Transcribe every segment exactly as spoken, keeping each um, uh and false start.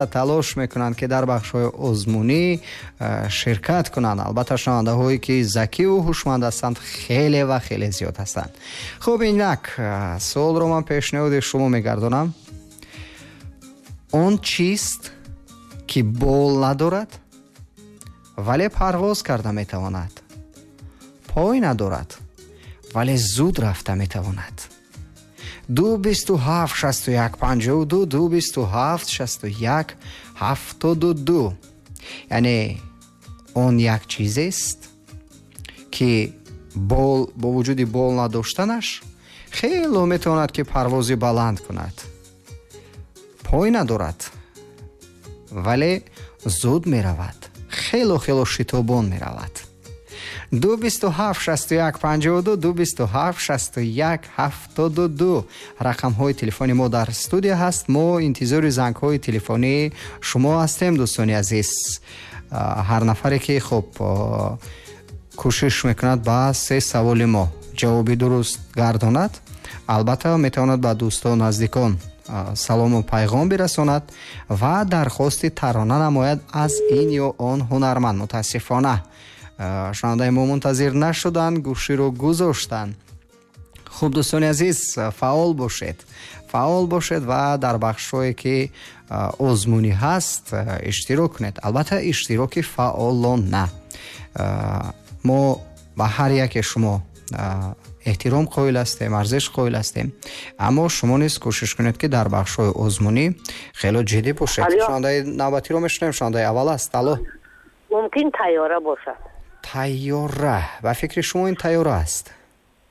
Талош мекунанд, ки дар бахшҳои озмунӣ ширкат кунанд. Албатта, шунавандаҳое, ки закиву ҳушманд ҳастанд, хеле ва хеле зиёд ҳастанд. Хуб, инак суолро ман пешниҳоди шумо мегардонам. Он чист, ки бол надорад, вале парвоз карда метавонад, пой надорад, вале зуд рафта метавонад? Ду бисту ҳафт шасту як панҷоҳу ду, ду бисту ҳафт шасту як ҳафтоду ду. Яъне он як чизест, ки бол бо вуҷуди бол надоштанаш хело метавонад, ки парвози баланд кунад, пой надорад, вале зуд меравад, хело хело шитобон меравад. Ду бисту ҳафт шасту як панҷоҳу ду, ду бисту ҳафт шасту як ҳафтоду ду рақамҳои телефони мо дар студия ҳаст. Мо интизори зангҳои телефонии шумо ҳастем, дӯстони азиз. Ҳар нафаре, ки хуб кӯшиш мекунад, ба се саволи мо ҷавоби дуруст гардонад, албатта, метавонад ба дӯстон, наздикон салому пайғом бирасонад ва дархости тарона намояд аз ин ё он ҳунарманд. Мутаассифона, шунавандаи мо мунтазир нашуданд, гӯширо гузоштанд. Хуб, дӯстони азиз, фаъол бошед, фаъол бошед ва дар бахшҳое, ки озмунӣ ҳаст, иштирок кунед. Албатта, иштироки фаъолона. Мо ба ҳар яке шумо эҳтиром қоил ҳастем, арзиш қоил ҳастем, аммо шумо низ кӯшиш кунед, ки дар бахшҳои озмунӣ хело ҷиддӣ бошед. Шунавандаи навбатиро мешунавем. Шунавандаи аввал аст. Алло. Мумкин, тайёра бошад. Тайёра? Ба фикри шумо, ин тайёра аст?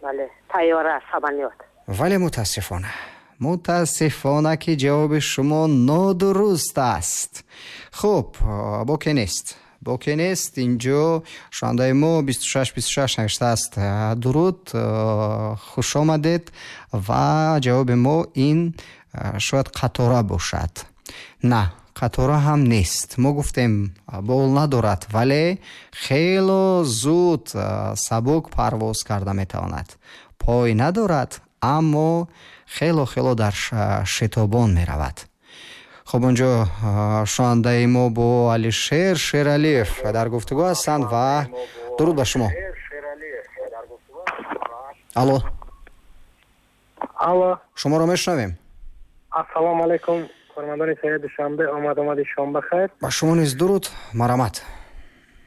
Бале, тайёра, самолёт. Вале мутаассифона, мутаассифона, ки ҷавоби шумо нодуруст аст. Хуб, боке нест, боке нест. Инҷо шунавандаи мо бисту шаш бисту шаш навиштааст: дуруд, хушомадед. Ва ҷавоби мо ин шояд қатора бошад. На, қатора ҳам нест. Мо гуфтем, бол надорад, вале хело зуд, сабук парвоз карда метавонад, пой надорад, аммо хело хело дар шитобон меравад. Хуб, онҷо шунавандаи мо бо Алишер Шералиев дар гуфтугӯ ҳастанд. Ва дуруд ба шумо, алло. Алло. Шуморо мешунавем. Ассалому алайкум, кормандони шаҳри Душанбе, омад омади шом бахайр. Ба шумо низ дуруд, марҳамат.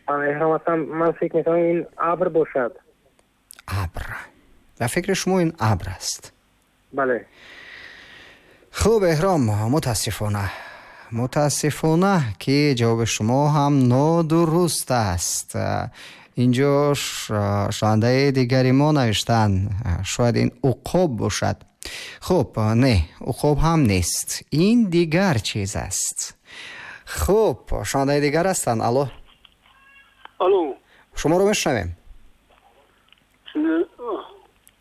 Эҳром ҳастам. Ман фикр мекунам, ин абр бошад. Абр? Ба фикри шумо, ин абр аст? Бале. Хуб, Эҳром, мутаассифона, мутаассифона, ки ҷавоби шумо ҳам нодуруст аст. Инҷо шунавандаи дигари мо навиштанд, шояд ин уқоб бошад. Хуб, не, уқоб ҳам нест, ин дигар чиз аст. Хуб, шунавандаи дигар ҳастанд. Алло. Алло. Шуморо мешунавем.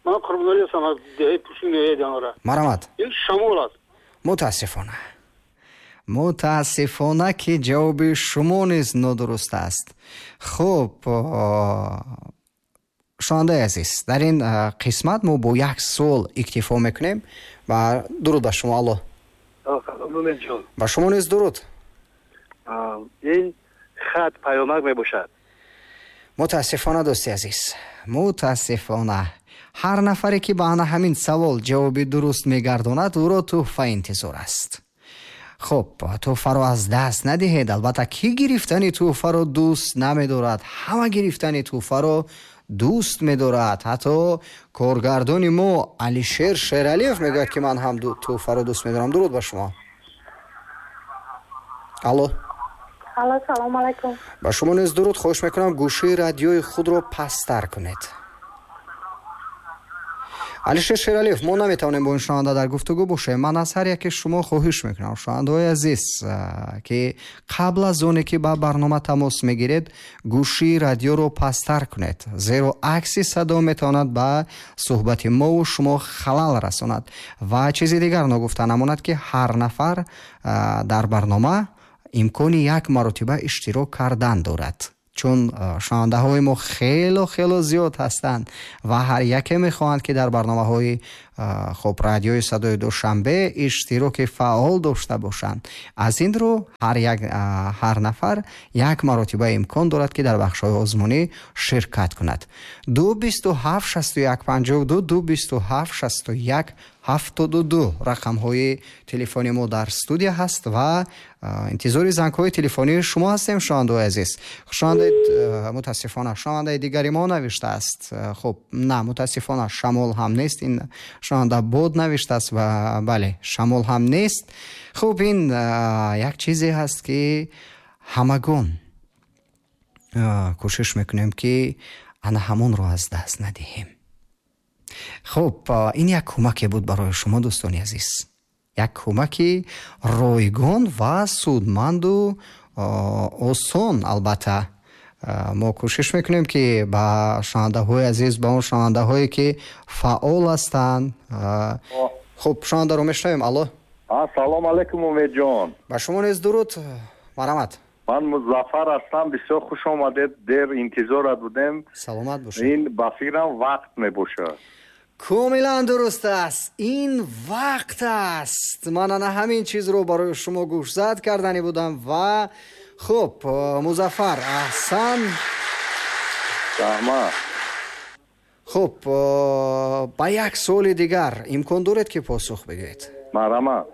Ман Қурбоналӣ ҳастам аз деҳаи Пушин, ноҳияи Данғара. Марҳамат. Ин шамол аст. Мутаассифона, мутаассифона, ки ҷавоби шумо низ нодуруст аст. Хуб, шунавандаи азиз, дар ин қисмат мо бо як суол иктифо мекунем. Ва дуруд ба шумо, алло. Ба шумо низ дуруд. Ин хат паёмак мебошад. Мутаассифона, дӯсти азиз, мутаассифона. Ҳар нафаре, ки ба ана ҳамин савол ҷавоби дуруст мегардонад, ӯро тӯҳфа интизор аст. Хуб, тӯҳфаро аз даст надиҳед. Албатта, кӣ гирифтани тӯҳфаро дӯст намедорад? Ҳама гирифтани тӯҳфаро дӯст медорад. Ҳатто коргардони мо Алишер Шералиев мегӯяд, ки ман ҳам тӯҳфаро дӯст медорам. Дуруд ба шумо, алло. Алло, салому алайкум. Ба шумо низ дуруд. Хоҳиш мекунам, гӯшаи радиои худро пасттар кунед. Алишер Шералиев, мо наметавонем бо ин шунаванда дар гуфтугӯ бошем. Ман аз ҳар яке шумо хоҳиш мекунам, шунавандаҳои азиз, ки қабл аз оне ки ба барнома тамос мегиред, гӯшии радиоро пасттар кунед, зеро акси садо метавонад ба суҳбати мову шумо халал расонад. Ва чизи дигар ногуфта намонад, ки ҳар нафар дар барнома имкони як маротиба иштирок кардан дорад, чун шунавандаҳои мо хело хело зиёд ҳастанд ва ҳар яке мехоҳанд, ки дар барномаҳои хуб радиои садои Душанбе иштироки фаъол дошта бошанд. Аз ин рӯ ҳар як ҳар нафар як маротиба имкон дорад, ки дар бахшҳои озмунӣ ширкат кунад. Ду бисту ҳафт шасту як панҷоҳу ду, ду бисту ҳафт шасту як ҳафтоду ду рақамҳои телефони мо дар студия ҳаст ва интизори зангҳои телефонии шумо ҳастем, шунавандаҳои азиз. Шунавандаи мутаассифона шунавандаи дигари мо навиштааст. Хуб, на, мутаассифона шамол ҳам нест. Ин шунаванда бод навиштааст ва бале, шамол ҳам нест. Хуб, ин як чизе ҳаст, ки ҳамагон кӯшиш мекунем, ки ана ҳамонро аз даст надиҳем. Хуб, ин як кӯмаке буд барои шумо, дӯстони азиз. Як кӯмаки ройгон ва судманду осон. Албатта мо кӯшиш мекунем, ки ба шунавандаҳои азиз, ба он шунавандаҳое, ки фаъол ҳастанд. Хуб, шунавандаро мешунавем. Алло, ассалому алайкум, Умедҷон. Ба шумо низ дуруд, марҳамат. Ман Музаффар ҳастам, бисёр хуш омадед, дер интизорат будем. Саломат бошед. Ин ба фикрам вақт мебошад. Комилан дуруст аст, ин вақт аст. Ман ана ҳамин чизро барои шумо гӯшзад кардани будам ва хуб, Музаффар, аҳсан. Раҳмат. Хуб, ба як суоли дигар имкон доред, ки посух бигӯед? Марҳамат.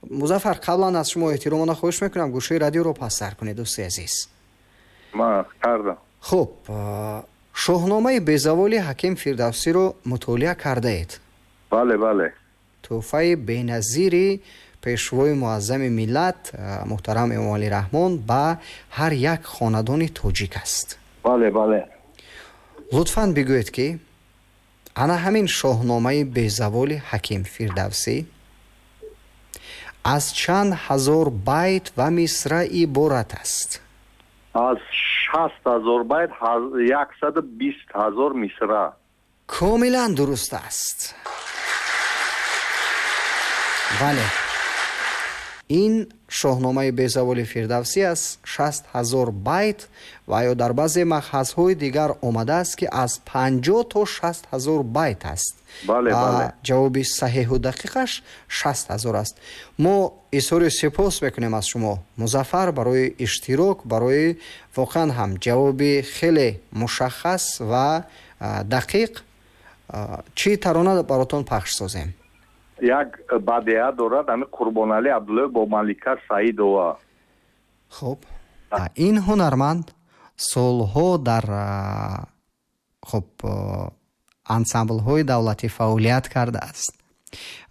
Музаффар, қаблан аз шумо эҳтиромона хоҳиш мекунам, гӯшаи радиоро пасттар кунед, дӯсти азиз. Ман кардам. Хуб, шоҳномаи безаволи Ҳаким Фирдавсиро мутолиа кардаед? Бале, бале. Тӯҳфаи беназири пешвои муаззами миллат муҳтарам Эмомалӣ Раҳмон ба ҳар як хонадони тоҷик аст. Бале, бале. Лутфан бигӯед, ки ана ҳамин шоҳномаи безаволи Ҳаким Фирдавсӣ аз чанд ҳазор байт ва мисра иборат аст? Аз шаст ҳазор байт, яксаду бист ҳазор мисра. Комилан дуруст аст. Бале, ин шоҳномаи безаволи Фирдавсӣ аз шаст ҳазор байт ва ё дар баъзе махазҳои дигар омадааст, ки аз панҷоҳ то шаст ҳазор байт аст. Бале, бале. Ҷавоби саҳеҳу дақиқаш шаст ҳазор аст. Мо изҳори сипос мекунем аз шумо, Музаффар, барои иштирок, барои воқеан ҳам ҷавоби хеле мушаххас ва дақиқ. Чӣ тарона баротон пахш созем? Як бадеа дорад ҳамин Қурбоналӣ Абдуллоев бо Малика Саидова. Хуб, ин ҳунарманд солҳо дар хуб ансамблҳои давлатӣ фаъолият кардааст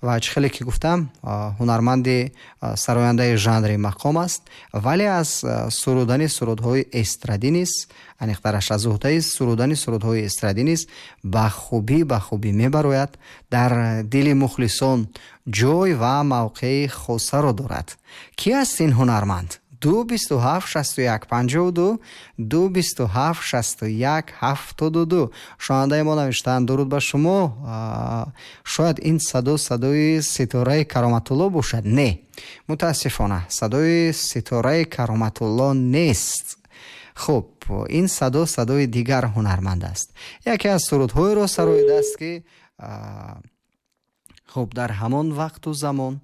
ва чӣ хеле ки гуфтам, ҳунарманди сарояндаи жанри мақом аст, вале аз сурудани сурудҳои эстрадӣ низ, аниқтараш аз уҳдаи сурудани сурудҳои эстрадӣ низ ба хубӣ ба хубӣ мебарояд, дар дили мухлисон ҷой ва мавқеи хосаро дорад. Кӣ аст ин ҳунарманд? Ду бисту ҳафт шасту як панҷоҳу ду, ду бисту ҳафт шасту як ҳафтоду ду. Шунавандаи мо навиштаанд: дуруд ба шумо, шояд ин садо садои Ситораи Кароматулло бошад? Не, мутаассифона садои Ситораи Кароматулло нест. Хуб, ин садо садои дигар ҳунарманд аст. Яке аз сурудҳоеро сароидааст, ки хуб дар ҳамон вақту замон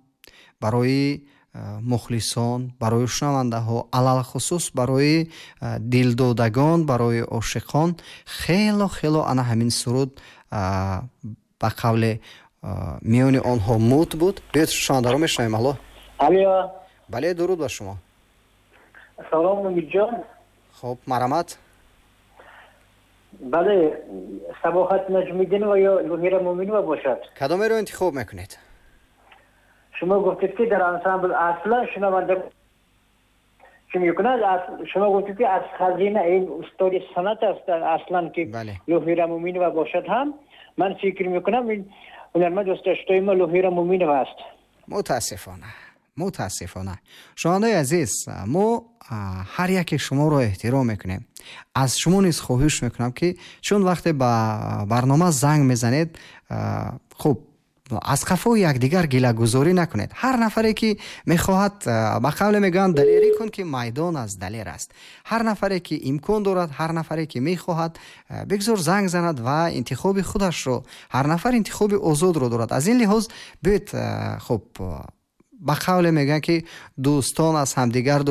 барои мухлисон, барои шунавандаҳо, алалхусус барои дилдодагон, барои ошиқон хело хело ана ҳамин суруд ба қавле миёни онҳо мут буд. Биёед шунавандаро мешунавем. Алло. Алло. Бале, дуруд ба шумо. Салом, Умидҷон. Хуб, марҳамат. Бале, Сабоҳат Наҷмиддинова ё Луҳира Муъминова бошад. Кадомеро интихоб мекунед? Шумо гуфтед, ки дар ансамбл аслан шунаванда чӣ мекунад? Шумо гуфтед, ки аз хазина ин устоди санъат аст аслан, ки Луҳира Муъминова бошад ҳам. Ман фикр мекунам, ин ҳунарманд дӯстдоштаи мо Луҳира Муъминова аст. Мутаассифона, мутаассифона. Шунавандаи азиз, мо ҳар яке шуморо эҳтиром мекунем. Аз шумо низ хоҳиш мекунам, ки чун вақте ба барнома занг мезанед, хуб Аз қафои якдигар гилагузорӣ накунед. Ҳар нафаре ки мехоҳад, ба қавле мегӯянд, далерӣ кун, ки майдон аз далер аст. Ҳар нафаре ки имкон дорад, ҳар нафаре ки мехоҳад, бигзор занг занад ва интихоби худашро, ҳар нафар интихоби озодро дорад. Аз ин лиҳоз биёед, хуб, ба қавле мегӯянд, ки дӯстон аз ҳамдигар